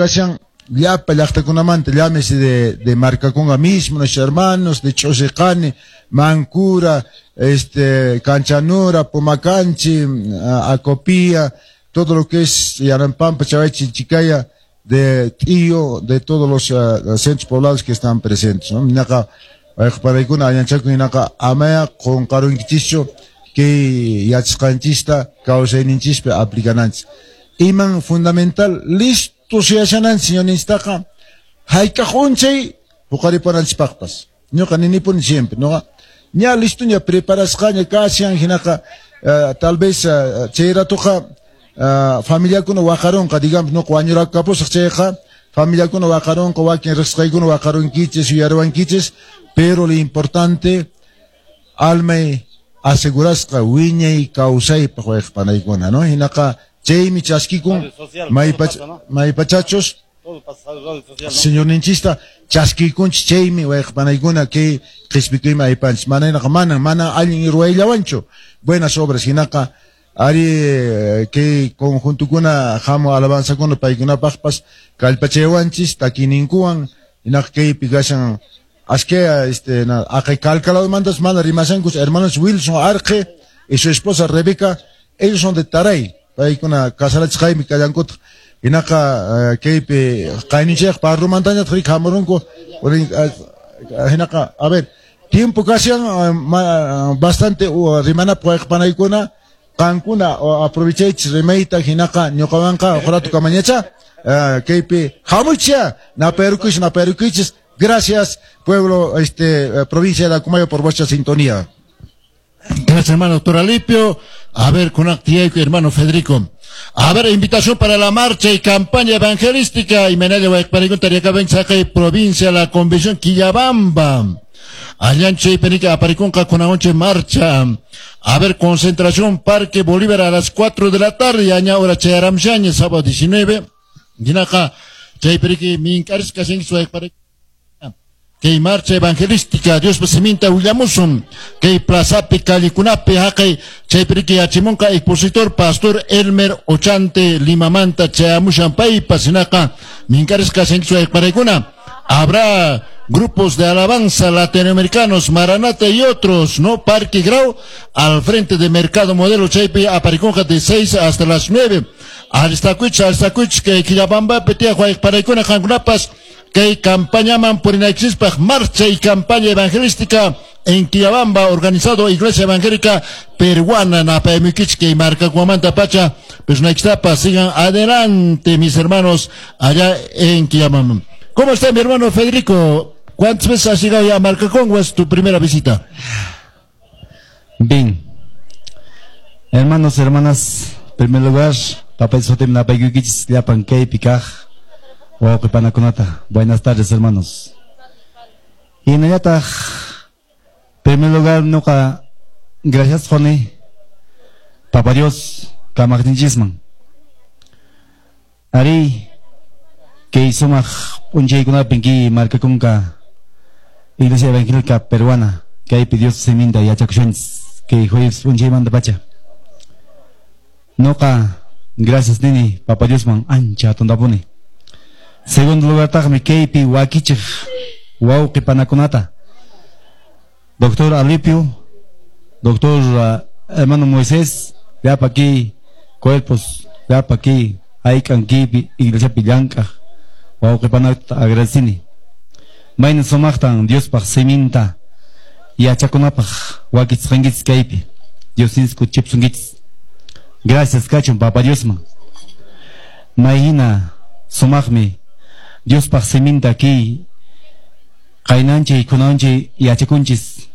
kashan llapa llaqtakunamanta, llámese de Marcaconga mismo, nuestros hermanos, de Chosiqani, Mancura, Canchanura, Pomacanchi, Acopía, todo lo que es Yarampampa, Chavay, Chicaya, de Tío, de todos los centros poblados que están presentes, ¿no? Naka, paraykuna añanchaku hinaka amaya qunqarunkichischu kay yachasqanchista kawsayninchispi aplicananchis. Iman fundamental, listo suyashananchis señorninchistaqa hayk'aq unchay huqaripunanchispaqpas. Ñuqa ninipuni siempre, ñuqa ña listo ña preparasqaña kashan hinaqa tal vez chay ratuqa familiakuna waqarunqa, digamos, ñuqa wañurakapusaq chayqa familiakuna waqarunqa, wakin riqsqaykuna waqarunkichis, yuyariwankichis, pero lo importante almay asegurasqa wiñay kawsaypaq wayqpanaykuna, ¿no? Hinaqa chaymi chaskikun maypachachos señorninchista chaskikunchis chaymi wayqpanaykuna kay qhispikuymi aypanchis. Mana hinaqa mana allin ruwayllawanchu buenas obras hinaqa ari kay conjuntukuna hamu alabanzakuna paykunapaqpas kallpachaywanchis takininkuwan hinaqa kaypi kashan asque aqay calcaladomantas mana rimashankus hermanos Wilson Arque y su esposa Rebeca, ellos son de Taray, paykuna casarachisqaymi kallankutaq hinaqa kaypi qayninchayqa parrumantañataq riki hamurunku hinaqa a ver tiempo kashan bastante rimanapaq wayqpanaykuna qankuna aprovechaychis rimayta hinaqa ñuqawanqa uqratu kamañacha kaypi hamuychis napayrukuychis. Gracias, pueblo, provincia de Acomayo, por vuestra sintonía. Gracias, hermano doctor Alipio. A ver, con hermano Federico. A ver, invitación para la marcha y campaña evangelística. Y Menaya Guayparicón, Tariaca, provincia, la convención Quillabamba. Allanche y Penica, Aparicón, Cacunaonche, marcha. A ver, concentración, Parque Bolívar a las 4 de la tarde. Aña hora Chayaramshaña, sábado 19. Dinaca, Chayperique, Mincaris, Casen, que marcha evangelística, Dios siminta Willamusun, que plazapi callicunapi, haqay, chaypiriki yachimunqa expositor, pastor Elmer Ochante, Limamanta, chayamushan paypa, sinaqa, minkarisqa paraykuna. Habrá grupos de alabanza latinoamericanos, Maranata y otros, ¿no? Parque Grau, al frente de Mercado Modelo Chaypi, Apariconja de 6 hasta las 9. Alistacuich, que Quillabamba, Petia, Paraykuna, Jangunapas, que campaña man por marcha y campaña evangelística en Quillabamba, organizado Iglesia Evangélica Peruana, Napaymiquichque y Marca Guamanta Pacha, pues Naixtapa, sigan adelante, mis hermanos, allá en Quillabamba. ¿Cómo está mi hermano Federico? ¿Cuántas veces has llegado ya a Marcacongo? ¿Es tu primera visita? Bien. Hermanos, hermanas, en primer lugar, papá Sotem Napayquichis, Llapan Kei, Picaj. Buenas tardes, hermanos. Y en primer lugar, nuka, gracias, Jone, Papá Dios, Kamagninchisman. Ari, que sumaq p'unchaykunapin kay markakunka Iglesia Evangélica Peruana, kaypi Dios siminta yachakushunchis, kay jueves p'unchaymanta pacha. Nuqa, gracias nini, Papá Diosman ancha atuntapuni. Segundo lugar, taqmi kaypi wakichiq wawqi panakunata. Doctor Alipio, doctor hermano Moisés, llapa aquí cuerpos, llapa aquí hayk'an kaypi iglesiapi llank'aq wawqi panata agradecini. Mayna sumaqtan Diospaq siminta yachakunapaq wakichisqankichis kaypi. Dios kuchipsunkichis. Gracias kachun Papa Diosman. Mayhina sumaqmi Diospaq siminta kay qaynanchik kunanchik yachakunchis.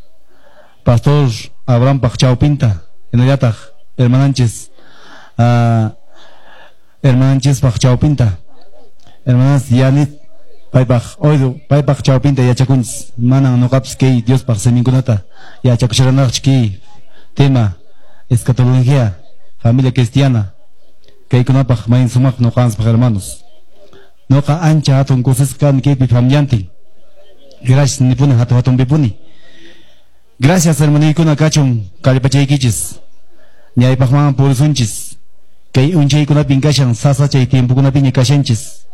Pastor Abrahampaq chawpinta hinallataq hermananchis hermananchispaq chawpinta hermanas Yanit paypaq oydu paypaq chawpinta yachakunchis. Manan nuqapis kay Diospaq siminkunata yachakusharanaqchu kay tema escatología familia cristiana kaykunapaq mayn sumaq nuqanspaq hermanos. Nuqa ancha hatun kusisqa kani kaypi familiantin. Gracias nipuni hatun hatunpipuni. Gracias hermanoykuna kachun kallpachaykichis. Ñaypaqman purisunchis. Kay unchaykunapin kashan sasachay tiempokunapiña kashanchis.